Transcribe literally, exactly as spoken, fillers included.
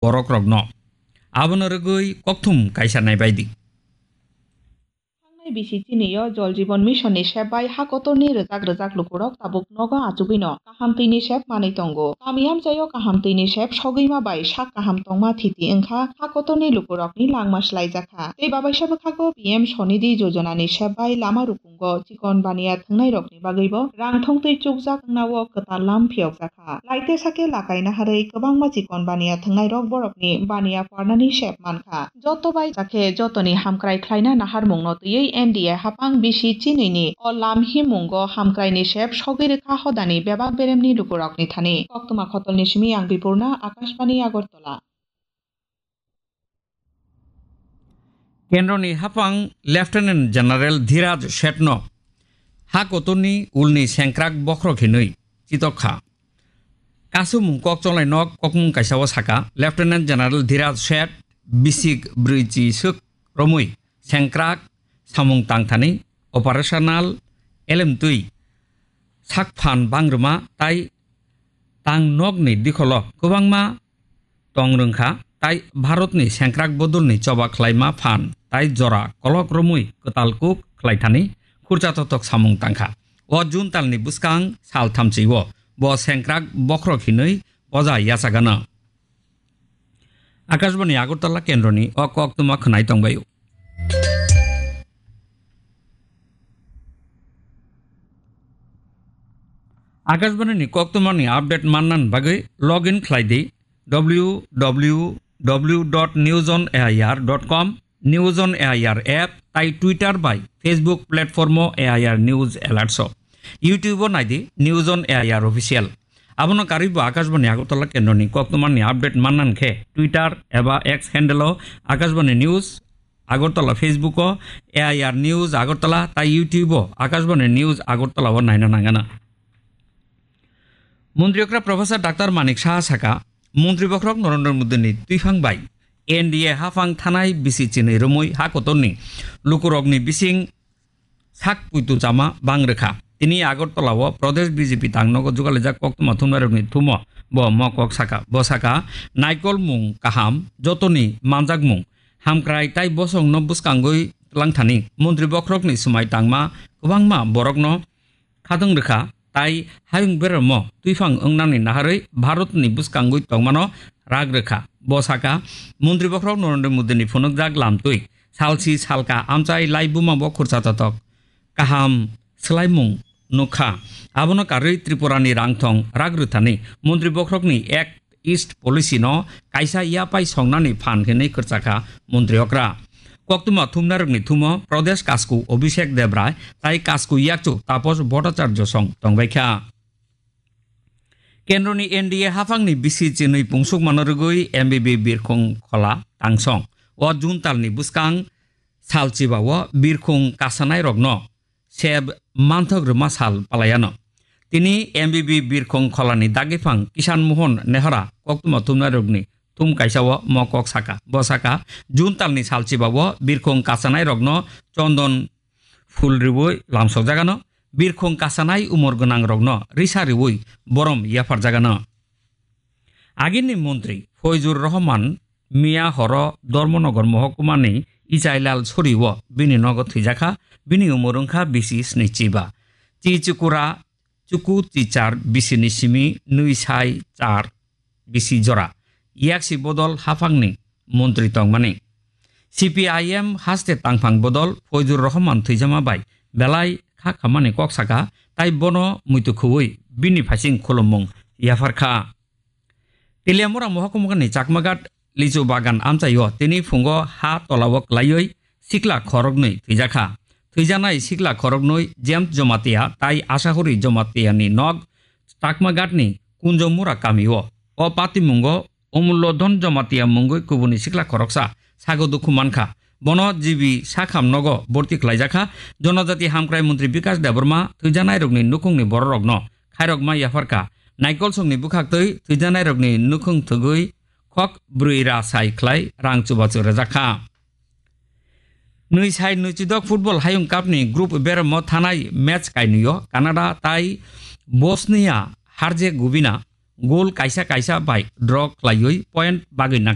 borokrokno. Abono rwgwi kokthum kaisa naibaidi. Thangnai bisi chini o Jal Jeevan Mission ni sep bai ha kotor ni rwjak rwjak lukurok tabuk nogo achugwi no kaham twi ni sep manwi tongo. Kami amchai o kaham twi ni sep sogwi ma bai sak kaham tongma thiti wngkha, ha kotor ni lukurok ni langma swlaijakha. Tei babaisa bwkhago P M Swanidhi Yojana ni sep bai lama rukung Bo chikon baniya thwngnairokni bagwibo rang thongtwi chukjak wngna-o kwtal lam phiyokjakha. Laite sake lakai naharwi kwbangma chikon baniya thwngnairok borokni baniya pharnani sep mankha. Joto bai jakhe jotoni hamkrai khlaina naharmungno twiwi N D A hapang bisi chinwini o lam himmungo hamkraini sep sogwi rwkha hodani bebak beremni lukurokni thani. Koktwma khotolni simi ang Bipurna, Akashbani Agartala. Kendroni hapang Lieutenant General Dhiraj Shetno ha kotorni ulni sengkrak bokhorok hinwi chitok kha. Kasumung kok chonglai nok kokmung kaisa o saka, Lieutenant General Dhiraj Shet bisik brwi chi swk romwi sengkrak samung tangthani operational elemtwi sakphan bangrwma tai tang nokni dikholo kwbangma tong rwngkha, tai Bharatni sengkrak bodolni choba khlaima phan tai jora kolok romwi kwtal kuk khlaithani khurcha totok samung tangkha. O June talni bwskang sal thamchi-o bo sengkrak bokhorok hinwi poja yachagano. Akashbani Agartala kendroni o koktwma khwnai tongbaio. Akashbani ni koktwmani update mannan bagwi login khlai di W W W dot news on A I R dot com, News on A I R app tai Twitter bai Facebook platform o A I R News Alerts o. YouTube o nai di News on A I R Official. Abono karwi bo Akashbani Agartala kendroni koktwmani update mannan khe Twitter eba X handle o Akashbani News Agartala, Facebook o A I R News Agartala tai YouTube o Akashbani News Agartala o naina nangana. Montri okra Professor Doctor Manik Saha saka, Montri bokhorok Narendra Modi ni twiphang bai N D A hafang thanai bisi chinwi romwi ha kotorni lukurokni bising sak puitu chama bang rwkha. Tini Agartala o Pradesh B J P tangnogo jugalaijak koktwma thumnairokni thumo bo mo kok saka. Bo saka, naikol mung kaham, jotoni manjak mung, hamkrai tai bosongno bwskangwi twlangthani. Montri bokhorokni swmai tangma kwbangma borokno khatwng rwkha, tai hayung beramo twiphang wngnani naharwi Bharatni bwskangwi tongmano rak rwkha. Bo saka, Montri bokhorok Narendra Modini phunukjak lamtwi salsi salka amchai laibuma bo khurcha totok kaham swlaimung nukha. Abono karwi Tripurani rangthong rak rwthani Montri bokhorokni ek East Policy no kaisa yapai songnani phan hinwi kwrwchakha Montri okra. Koktwma thumnarokni thumo Pradesh Kasku Abhishek Debrai tai Kasku Yakchu Taposh Bhattacharya song tongbaikha. Kendroni N D A haphangni bisi chinwi pungsukmano rwgwi M B B Birkhung Khola tangsong o June talni bwskang salchiba o birkhung kasanairokno seb manthok rwma sal palayano. Tini M B B Birkhung Kholani dagiphang Kisan Mohon Nehara koktwma thumnairokni thum kaisa o mo kok saka. Bo saka, June talni salchiba o birkhung kasanairokno chondon phul rwui lamsokjagano, birkhung kasanai umor gwnangrokno risa rwui borom yapharjagano. Agini montri Foizur Rohman miya horo Dharmanagar mohokuma ni Ichailal Sori o bini nogo thwijakha, bini umor wngkha bisi snichi ba. Chi chukura chuku chi char bisi ni simi nwi sai char bisi jora. Yaksi bodol haphangni montri tongmani. C P I M haste tangphang bodol Foizur Rohman thwijama bai belai kha khamani kok saka, tai bono muitu khuwi bini phaising khulummung yapharkha. Teliamura mohokuma ni Chakmaghat lichu bagan amchaio tini phungo ha tolao klaiwi sikla khoroknwi thwijakha. Thwijanai sikla khoroknwi James Jomatia tai Asahori Jomatia ni nok Chakmaghat ni Kunjomura kamio. O patimungo Omulodhon Jomatia mungwi kubuni sikla khoroksa sago dukhu mankha. Bono G B sakham nogo borti khlaijakha. Jonojati hamkrai montri Bikash Debbarma thwijanairokni nukhungni bororokno khairokma yapharkha. Naikolsongni bwkhaktwi thwijanairokni nukhung thwgwi khok brwi ra sai khlai rang chubachu rwjakha. Nwi sai nwi chidok football hayung cup ni group beramo thanai match kainwio Canada tai Bosnia Herzegovina goal kaisa kaisa bai draw khlaiwi point bagwi nang